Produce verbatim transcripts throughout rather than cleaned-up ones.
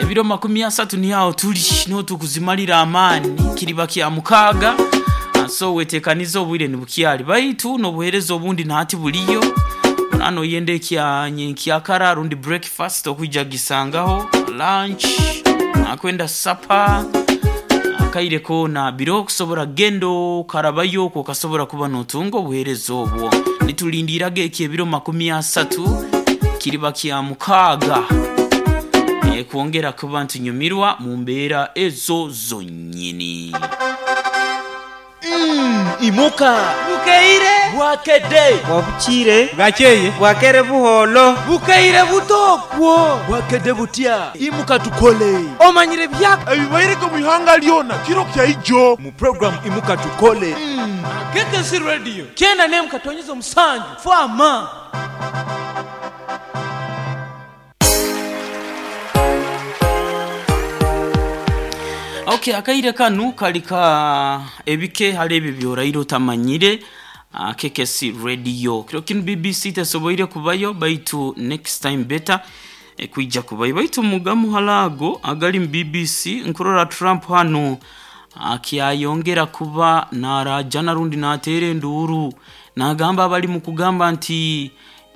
Ebiro makumi asatu niho tuli, niho tukuzimalira amaani, kiriba kya mukaaga. So wetekanize obwire nibukyali, baitu n'obuheereza obundi nahati buliyo. Nano yenda ekya nyenkyakara rundi breakfast okwija gisangaho, lunch, akwenda supper, akaire koona biro okusobora kugenda okarabayo okwo okasobora kuba notunga obuheereza obwo. Nitulindiraga eki ebiro makumi asatu kiriba kya mukaaga e, kwongera kuba ntunyumirwa mu mbeera ezo zonyini. Mm, imuka Bukeire bwakede Bwabukiire bwakeye bwakere buholo bukeire butokwo bwakede butya imuka tukole omanyire byaka ebibaireko mu ihanga lyona kiro kya ijo mu programu imuka tukole. mm. K K C Radio kyenda nemu katonyeza omusanju fama. Okay, akaire kanu kali ka ebike hali ebyo byoraire otamanyire. uh, K K C Radio kiro kinu B B C tesoboire kubayo, baitu next time better e, kwija kubayo. Baitu mugamu halago agali mu B B C, nkurora Trump hano akyayongera kuba narajana rundi nateera enduuru, nagamba abali mu kugamba nti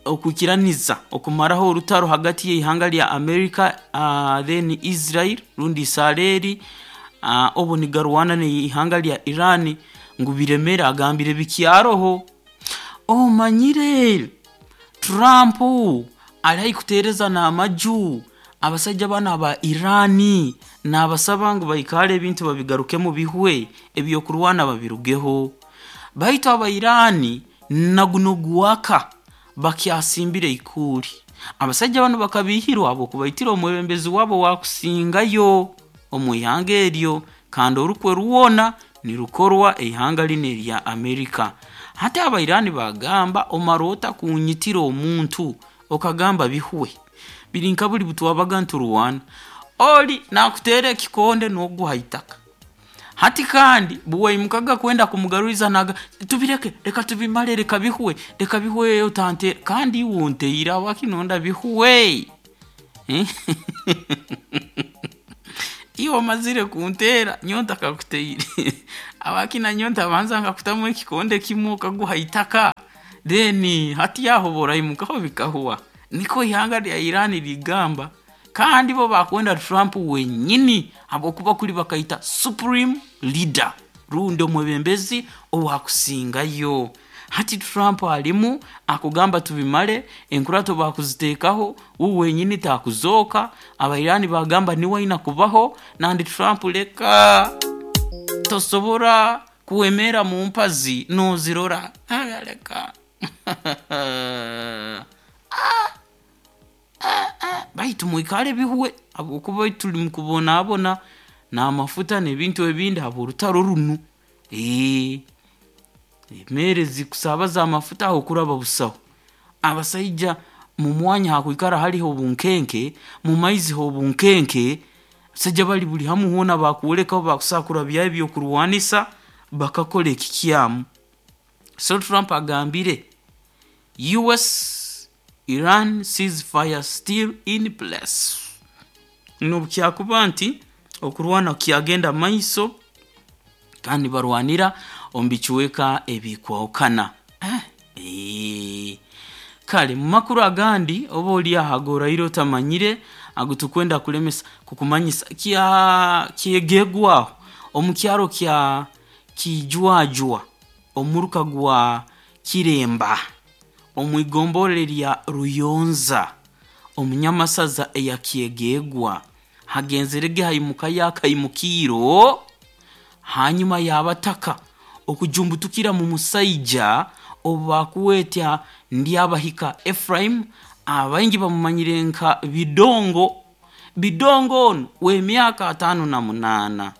okukiraniza okumaraho orutaro hagati y'ihanga lya America uh, then Israel rundi Israeli uh, obu nigarwana n'ihanga lya Iran ngu biremere, agambire bikyaroho. Omanyire Trump ali haihi kuteereza n'amaju abasajja bano aba Irani, n'abasaba ngu baikale ebintu babigarukemu bihwe, ebyokurwana babirugeho. Baitu aba Irani naguno gwaka bakyasimbire ikuuli. Abasajja bano bakabihirwa habwokubaitira omwebembezi wabo wakusingayo omu ihanga eryo, kandi orukwe rwona nirukorwa eihanga lino erya Amerika. Hati abairani bagamba, omara ota kunyitira omuntu okagamba bihwe, biri nka buli butwabaga nturwana, oli nakuteera ekikonde n'oguha itaka. Hati kandi buwaimukaga kwenda kumugaruriza, naga tubireke, reka tubimale, reka bihwe, reka bihwe, otante kandi iwe onteire awakinonda bihwe. Eh? Iwe omazire kunteera nyonta kakuteire abakina nyonta abanza nkakutamu ekikonde kimwe okaguha itaka, then hati yaho boraimukaho bikahuwa. Niko ihanga lya Irani ligamba, kandi bo bakwenda Trump wenyini habwokuba kuli bakaita supreme leader rundi omwebembezi owakusingayo. Hati Trump alimu akugamba tubimale, enkurato bakuziteekaho, wu wenyini takuzooka. Abairani bagamba niwe aina kubaho, nandi Trump leka, tosobora kuwemera mu mpazi nozirora. Aya, leka. Baitu mwikale bihwe habwokuba tuli mukubonabona n'amafuta n'ebintu ebindi habw'orutaro runu. Ee, emere zikusabaza amafuta aho kuraba busaho. Abasaija mu mwanya hakwikara haliho obunkenke, mu maizi ho obunkenke, abasaija bali buli hamu hoona bakwolekaho bakusakura byayo ebyokurwanisa bakakora ekikyamu. So Trump agambire U S Iran ceasefire still in place, nobukyakuba nti okurwana kyagenda maiso kandi barwanira omu bicweka ebikwahukana. Eh, eh. Kale mu makuru agandi oba oli aho agoraire otamanyire ago tukwenda kulemesa kukumanyisa, kya kyegegwaho omu kyaro kya Kijwajwa, omuruka gwa Kiremba, omu igombole lya Ruyonza omunyamasaza eya Kyegegwa, hagenzerege haimuka yakaimukiro hanyuma yabataka okujumbutukira mu musaija obu bakuwetya Ndyabahika Ephraim, abaingi bamumanyire nka Bidongo. Bidongo onu w'emyaka atano na munaana.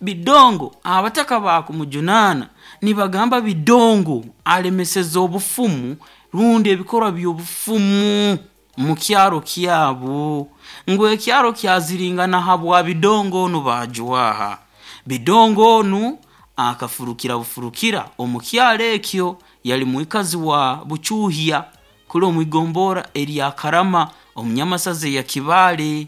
Bidongo abataka bakumujunana nibagamba Bidongo alemeseza obufumu rundi ebikorwa by'obufumu mu kyaro kyabo, ngu ekyaro kyaziringana habwa Bidongo onu. Bajwaha Bidongo onu akafurukira bufurukira omu kyaro ekyo, yali mwikazi wa Bucuhya kuli omu igombora erya Karama omunyamasaza eya Kibaale.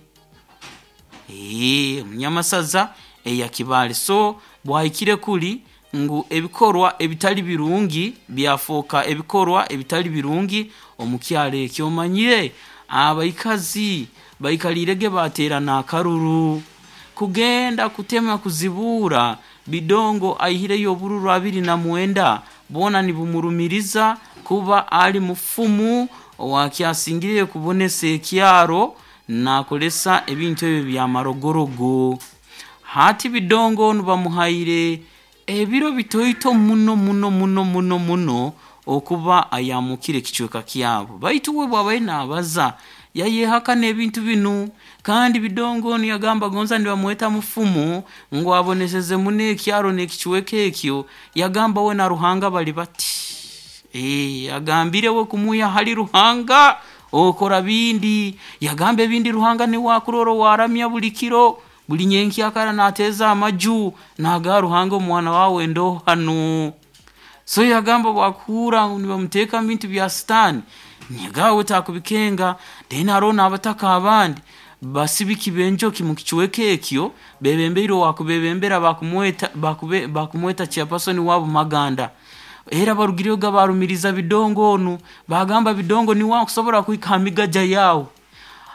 Eh, munyamasaza eya Kibaale. So bwahikire kuli ngu ebikorwa ebitali birungi byafoka ebikorwa ebitali birungi omukyalo ekyo. Omanyire abaikazi baikalirege baterana akaruru kugenda kutema kuzibura Bidongo aihireyo obururu abiri na mwenda bona nibumurumiriza kuba ali mufumu owakyasingire kubonesa ekyaro nakolesa ebintu ebyo bya marogorogo. Hati Bidongo nibamuhaire ebiro bitoito muno muno muno muno muno okuba ayamukire ekicweka kyabo, baitu we bwabaire nabaza yayehakana ebintu binu. Kandi Bidongo niyagamba gonza nibamweta mufumu ngu aboneseze muno ekyaro n'ekicweka ekyo. Yagamba we na Ruhanga bali bati, e, agambire we kumuya hali Ruhanga okora bindi. Yagamba ebindi Ruhanga niwe akurora waramya buli kiro buli nyenkyakara nateza amaju naga Ruhanga omwana wawe ndo hano. So yagamba bwakuhura nibamuteeka mu bintu bya sitaani nyegawe takubikenga. Then hariho n'abataka abandi basibiki b'enjoki mu kicweka ekyo bebembeire owakubebembera bakumweta, bakube, bakumweta chairperson wabo Maganda. Era barugireyo barumiriza Bidongo onu, bagamba Bidongo niwe akusobora kuhika ha migaja yawe.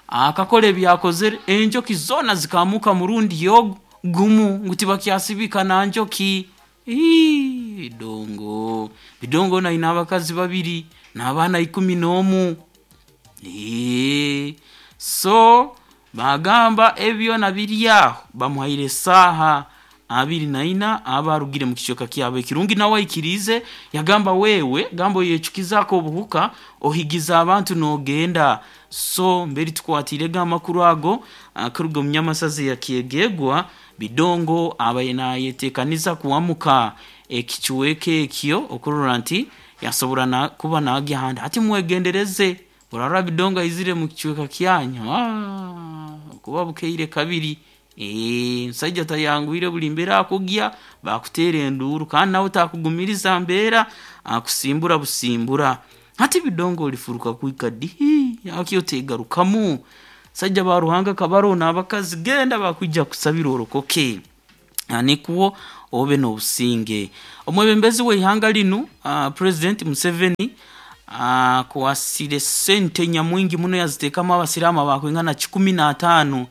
Akakora ebyakozere enjoki zona zikamuka murundi yogu gumu ngu tibakyasibika na njoki. Ii, Bidongo Bidongo naina abakazi babiri n'abaana ikumi n'omu. Ii, so bagamba ebyo nabiri aho bamuhaire esaaha abiri na ina abarugire mu kicweka kyabo. Ekirungi nawe aikirize yagamba wewe gamba oyecukizaako obuhuka ohigiza abantu nogenda. So mberi tukwatirege amakuru ago akuruga omu nyamasazi ya Kyegegwa. Bidongo abaye nayetekaniza kuwamuka ekicweka ekyo okurora nti yasobora na, kuba nagya ahandi. Hati mwegendereze orarora Bidongo aizire mu kicweka kyanyu, ah, kuba bukeire kabiri. Eh, nsajja tayanguire buli mbeera akugya bakutera enduru, kandi nawe takugumiriza mbeera akusimbura busimbura. Hati Bidongo olifuruka kwika dihi akyo tegarukamu. Sajja ba Ruhanga kabaro n'abakazi genda bakwijja kusabira orokoke nikwo obe n'obusinge. Omwebembezi w'eihanga linu uh, President Museveni akwasire uh, sente nyamwingi muno yaziteekamu abasiraamu abakwingana kikumi n'ataano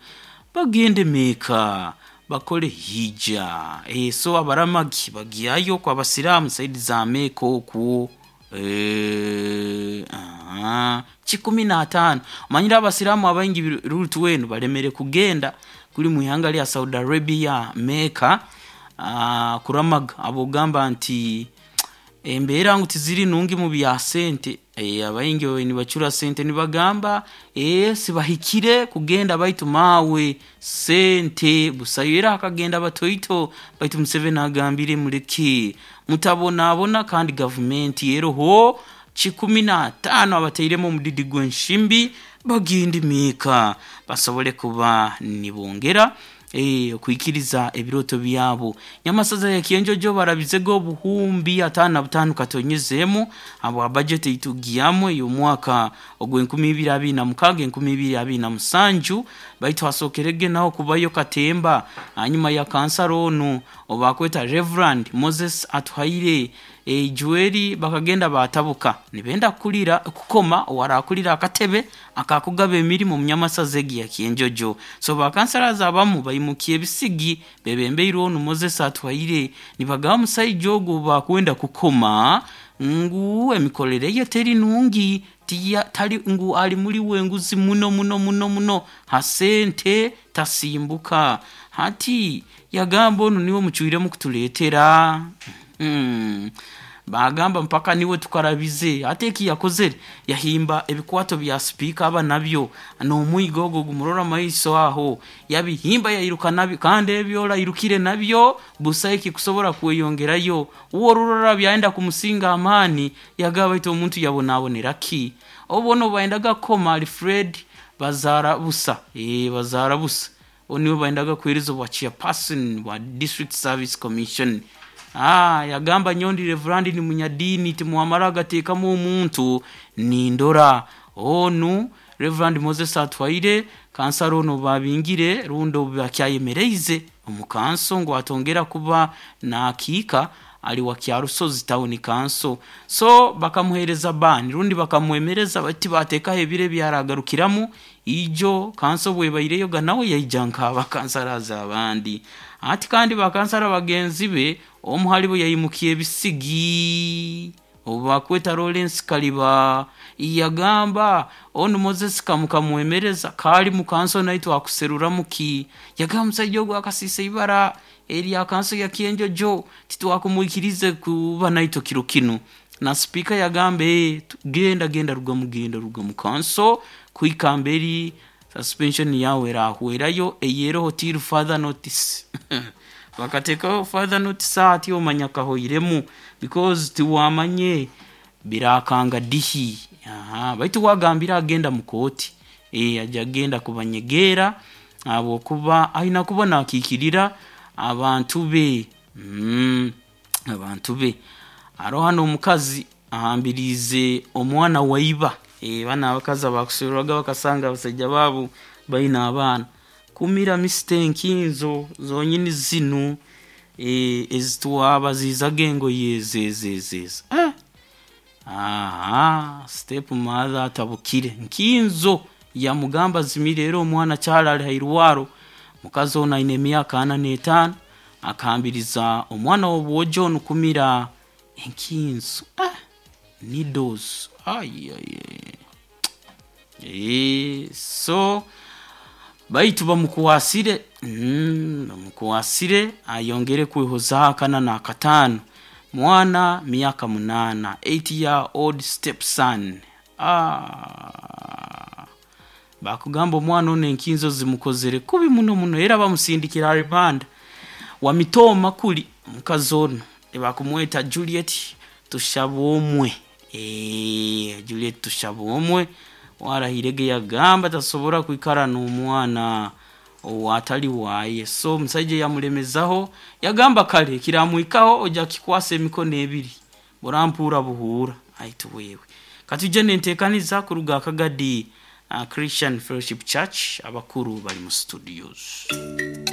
bagende Meeka bakole hija. E, so abaramagi bagyayo kwa basiraamu saidi za Meeka okwo. E, aha, kikumi n'ataano. Omanyire abasiraamu abaingi rutu wenu balemere kugenda kuli mu ihanga lya Saudi Arabia Meeka uh, kuramaga. Abogamba nti embeera ngu tiziri nungi mu bya sente. E, abaingi nibacura sente nibagamba e, sibahikire kugenda baitu mawe sente busayo. Era akagenda batoito baitu Museveni agambire muleke mutabonabona, kandi gavumenti eroho kikumi n'ataano abateiremu omudidi gw'enshimbi bagende Meeka basobole kuba nibongera eh, okwikiriza ebiroto byabo. Nyamasaza ya Kyenjojo barabizego obuhumbi ataano na butaano katonyezemu habwa budget eitugiyamu ey'omwaka ogw'enkumi ibiri abiri na mukaaga enkumi ibiri abiri na musanju. Baitu hasokerege naho kubayo katemba hanyuma ya kansara onu obakweta Reverend Moses Atuhaire e, Joeli bakagenda batabuka nibenda kulira kukoma warakulira akatebe akakugaba emirimu mu nyamasaza egi ya Kyenjojo. So bakansara abamu bayimukiye ebisigi bebembeire onu Moses Atuhaire nibagaba musaija ogwo bakwenda kukoma ngu emikorere ye teri nungi, tiya tali ngu ali muri wenguzi muno muno muno muno hasente tasimbuka. Hati yagamba onu niwe mucwiremu kutuleetera. Mm. Bagamba mpaka niwe tukarabize. Ate eki yakozere yahimba ebikwato bya speaker aba nabyo n'omwigo ogwo gumurora maiso aho yabihimba yayiruka nabyo, kandi ebyo irukire nabyo busa eki kusobora kweyongerayo. Uwo rurora byaenda kumusinga amani yagaba ito omuntu yabonabonera ki obono baendaga koma Alfred bazara busa eh bazara busa oniwe baendaga kuhereza bwa chairperson wa District Service Commission. Ah, yagamba nyondi reverandi ni munyadini timuamara agateekamu omuntu nindora onu Reverend Moses Atwaire kansara ono babingire rundo bakyayemereize omukanso ngu atongera kuba nakiika ali wa Kyarusozi Town Council. So bakamuhereza ban rundi bakamwemereza bati batekaho ebiro ebyaragarukiramu ijo kanso bwebaireyo ga nawe yaija nkaba kansaraza abandi. Ati kandi bakansara bagenzi be omuhali bo yayimukiye ebisigi obakweta Lawrence Kaliba yagamba onu Moses kamukamwemereza kali mukanso naitwe akuserura muki yagamba musajja ogwo akasisa ibara erya kanso ya Kyenjojo titwakumwikirize kuba naitwe kiro kinu. Na speaker yagamba eh, genda genda ruga mugenda ruga mukanso kuikamberi suspension yawe rahwerayo eyeroho till further notice. Bakatekaho further notice ati omanya kahoiremu because tiwamanye birakanga dihi. Aha, baitu wagambira agenda mukoti eh aja agenda kubanyegera abo kuba aina kubona akikirira abantu be mm, abantu be aro hano omukazi ahambirize omwana waiba eh bana abakazi abakusurwaga bakasanga abasajja babo baina abaana kumira misitenkinzo zonyini zinu eh ezitwabazizaga engoye zezezeza eh aha step mother atabukire nkinzo yamugamba zimire era omwana kyalali hairwaro. Mukazi ono aine emyaka ana n'etaano akahambiriza omwana w'obwojo ono kumira enkinzo ah, needles ai ai ai so baitu bamukuwasire mm, bamukuwasire ayongere kwehozaho akana n'akataano mwana miaka munana eight year old stepson. Ah, bakugamba omwana ono enkinzo zimukozere kubi muno muno era bamusindikira ribanda wamitoma kuli mukazi ono ebakumweta Juliet Tushabomwe eh Juliet Tushabomwe warahirege yagamba tasobora kwikara n'omwana owatali waye. So omusajja yamulemezaho yagamba kale kiramwikaho ojja kikwasa emikono ebiri burampura buhura aitu wewe. Katujje nentekaniza kuruga akagadi uh, Christian Fellowship Church abakuru bali mu studios.